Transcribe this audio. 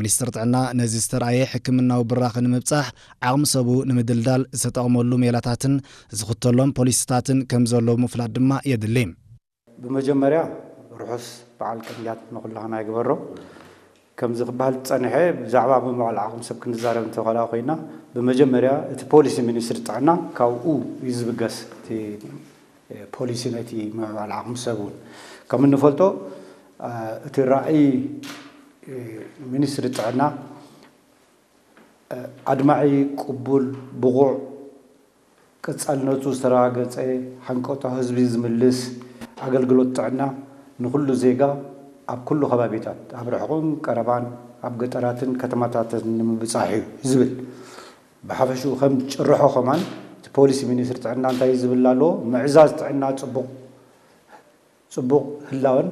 ሚኒስትር ጥዕና ነዚ ዝተራእየ ሕክምናዊ ብራኸ ንምብጻሕ ዓቕሚ ሰቡ ንምድልዳል ዝተጠቕመሉ ሜላታትን ዝኽተሎም ፖሊሲታትን ከም ዘሎ ምፍላጥ ድማ የድሊ። ብመጀመርያ ርሑስ በዓል ቅንያት ንኹላህና ይግበሮ። ከምዚ ክበሃል ዝጸንሐ ብዛዕባ ምምዕባል ዓቕሚ ሰብ ክንዛረብ እንተኾና ኮይና፣ ብመጀመርያ እቲ ፖሊሲ ሚኒስትሪ ጥዕና ካብኡ እዩ ዝብገስ። እቲ ፖሊሲ ነቲ ምምዕባል ዓቕሚ ሰብ እውን ከም እንፈልጦ እቲ ራእይ ሚኒስትሪ ጥዕና ኣድማዒ፣ ቅቡል፣ ብቑዕ፣ ቀጻልነቱ ዝተረጋገጸ፣ ሓንቀጦ ህዝቢ ዝምልስ ኣገልግሎት ጥዕና ንኹሉ ዜጋ ኣብ ኩሉ ከባቢታት፣ ኣብ ርሑቕን ቀረባን፣ ኣብ ገጠራትን ከተማታትን ንምብጻሕ እዩ ዝብል። ብሓፈሽኡ ከም ጭርሖ ከማን እቲ ፖሊሲ ሚኒስትሪ ጥዕና እንታይ ዝብል ኣሎ? ምዕዛዝ ጥዕና ጽቡቕ ጽቡቕ ህላወን